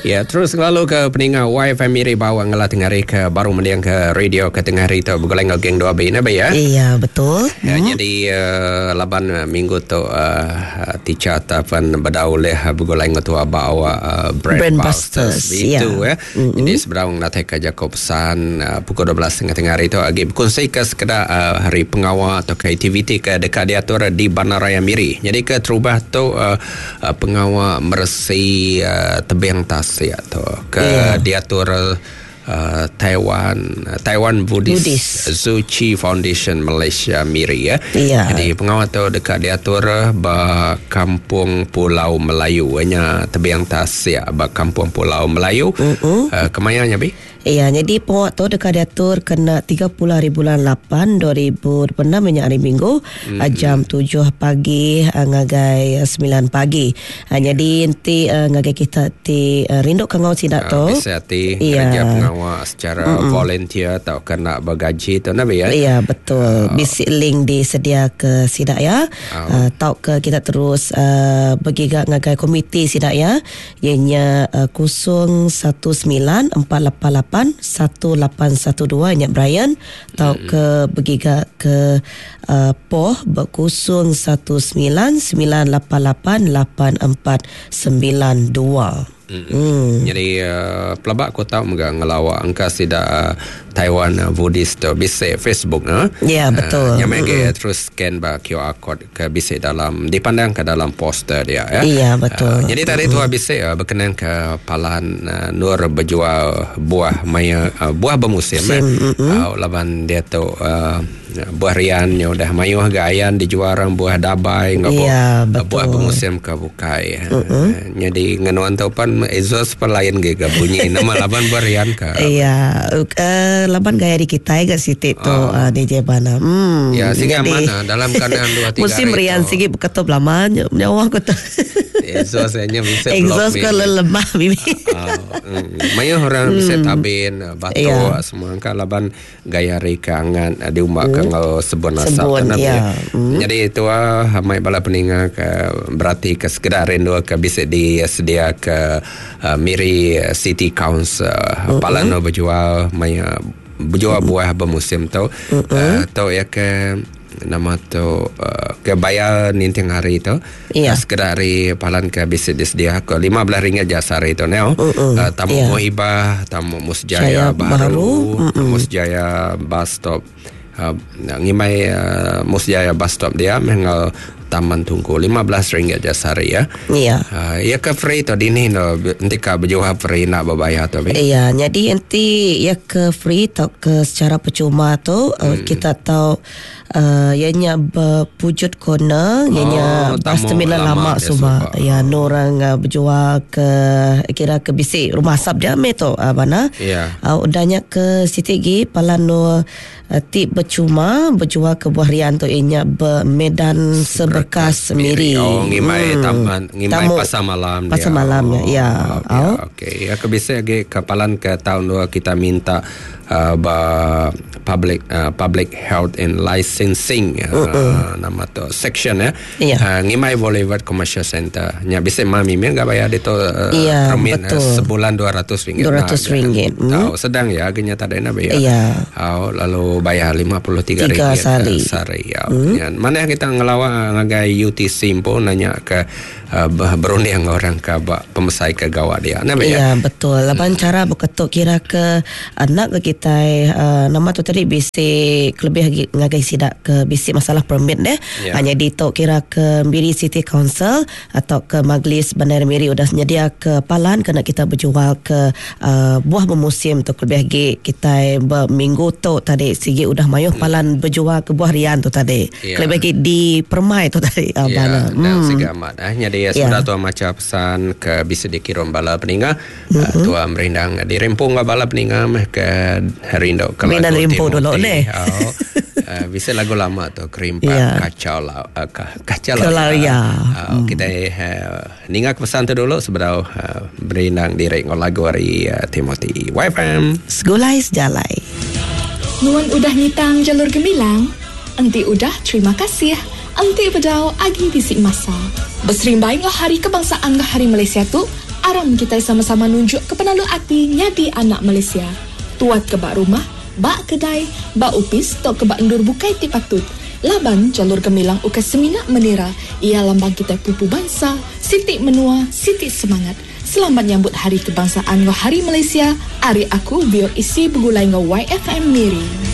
Ya, terus ngelalu ke peninga YFM Miri bawa ngela tengah hari ke baru mending ke radio ke tengah hari tu begulai enggau geng 2B ne ba ya. Iya, betul. Ya, jadi laban minggu tu uh, teacher ataupun bedau ulih begulai enggau tua bawa uh, Brand, Brand Busters Busters, itu ya. ya. Jadi sebedau ngenatai ke jaku pesan uh, pukul 12.30 tengah hari tu agi berkongsi ke sekeda uh, hari pengawa atau ke aktiviti ke dekat diatur di Bandaraya Miri. Jadi ke terubah tu uh, uh, pengawa meresi uh, tebing tasik tu ke Ya. diatur uh, Taiwan Taiwan Buddhist, Buddhist. Tzu Chi Foundation Malaysia Miri ya. Ya. Jadi pengawa tu dekat diatur ba Kampung Pulau Melayu nya tebing tasik ba Kampung Pulau Melayu. Mm-mm. Uh, kemaya nya bi? Ya, jadi pengawa tu dekat diatur kena 30 hari bulan 8 2026 nya hari Minggu jam 7 pagi ngagai 9 pagi. Jadi nanti ngagai kita ti rindu ke ngau sidak tu. Bisa hati Ya. kerja pengawa secara volunteer atau kena bergaji tu nabi ya. Ya betul. Bisi link disedia ke sidak ya. Tau ke kita terus bergiga ngagai komiti sidak ya. Ianya 019 488 1812 nya Brian tau ke bergiga ke Poh ber 019 988 8492. Jadi pelabak aku tahu mega ngelawak angka sida Taiwan Buddhist tu bisa Facebook no. Ya, betul. Uh, yang mm terus scan ba QR code ke bisa dalam dipandang ke dalam poster dia ya. Ya, betul. Jadi tadi tu bisa berkenan ke Palan Nur berjual buah maya buah bermusim eh. Laban dia tu buah rian nya udah mayuh gayan dijual orang buah dabai ngau Ya, betul. buah bermusim ke bukai. Jadi ngenuan tu pan exhaust pan lain ge ke bunyi nama laban buah rian ke. Ya, laban gaya di kita gak siti tu DJ Bana. Ya, sehingga mana dalam keadaan dua tiga Musim hari rian tu. sigi ketup lama nyawa aku tu. Exhaust nya bisa Exhaust block ke ni. lemah bibi. Mayuh orang bisa tabin batuk Ya. semua angka laban gaya rikangan diumbak ke ngau sebun asap Sebun, tu, Nabi, ya. Jadi itu mai bala peninga ke berarti ke sekedar rindu ke bisa disedia ke Miri City Council Palano berjual maya berjual buah bermusim tu tu ya ke nama tu ke bayar ninting hari tu Ya. sekedar hari palan ke bisa disedia ke RM15 je sehari tu neo tamu Ya. Muhibah tamu Musjaya Jaya Baru, Baru. Musjaya bus stop ngimai Musjaya bus stop dia mengal Taman Tungku RM15 je sehari ya. Ya. Ya ke free tu dini no nanti ka berjual free nak berbayar tu bi. Ya, jadi nanti ya ke free atau ke secara percuma tu kita tahu ianya berpujut corner, ianya Oh, bus tamu terminal lama lama dia semua. suka. Ya, no orang berjual ke kira ke bisik rumah asap dia me tu mana. Ya. Udahnya ke Siti Gi Palano ti bercuma berjual ke buah rian tu ianya bermedan seberkas Miri. Oh, ngimai taman, ngimai Tamu. pasar malam dia. Pasar malamnya, Oh, ya. Ya, Oh. okey. Ya, ke bisa lagi kapalan ke tahun dua kita minta ba public public health and licensing nama tu section ya. Ya. Ngimai Boulevard Commercial Center. Nya bisa mami mi enggak bayar itu Ya, permit betul. sebulan 200 ringgit. RM200, Tahu sedang ya agaknya tak ada nak bayar. Ya. Oh, lalu bayar 53 Tiga ringgit sehari. sehari. Ya. Ya, Mana kita ngelawa ngagai UTC pun nanya ke berunding orang ke bak pemesai ke gawat dia. Nah, ya. Ya betul. Laban cara berketuk kira ke anak ke kita nama tu tadi bisi lebih lagi ngagai sidak ke bisi masalah permit deh. Ya. Hanya di tok kira ke Miri City Council atau ke Majlis Bandar Miri udah nyedia ke palan kena kita berjual ke buah bermusim tu lebih lagi kita berminggu tu tadi sigi udah mayuh palan berjual ke buah rian tu tadi. Ya. Lebih lagi di permai tu tadi Ya, bana. dan segi amat. Jadi Ya. sudah tua macam pesan ke bisa dikirim bala peninga. Tua merindang dirempung ke bala peninga meh ke rindu ke Merindang lagu rimpu dulu, Timothy. neh. Oh, bisa lagu lama tu kerimpak Ya. kacau la, kacau Kelaria. Kita ninga ke pesan tu dulu sebelum berindang direk ngau lagu hari Timothy. YFM. Segulai sejalai. Nuan udah ngitang jalur gemilang. Enti udah terima kasih. Enti bedau agi bisik masa. Berserimbai ngah hari kebangsaan ngah hari Malaysia tu, Aram kitai sama-sama nunjuk ke penalu ati nyadi anak Malaysia. Tuat ke ba rumah, ba kedai, ba opis tauka ba endur bukai ti patut. Laban Jalur Gemilang ukai semina menira, iya lambang kitai pupu bansa, siti menua, siti semangat. Selamat nyambut Hari Kebangsaan enggau Hari Malaysia ari aku VOEC begulai enggau YFM Miri.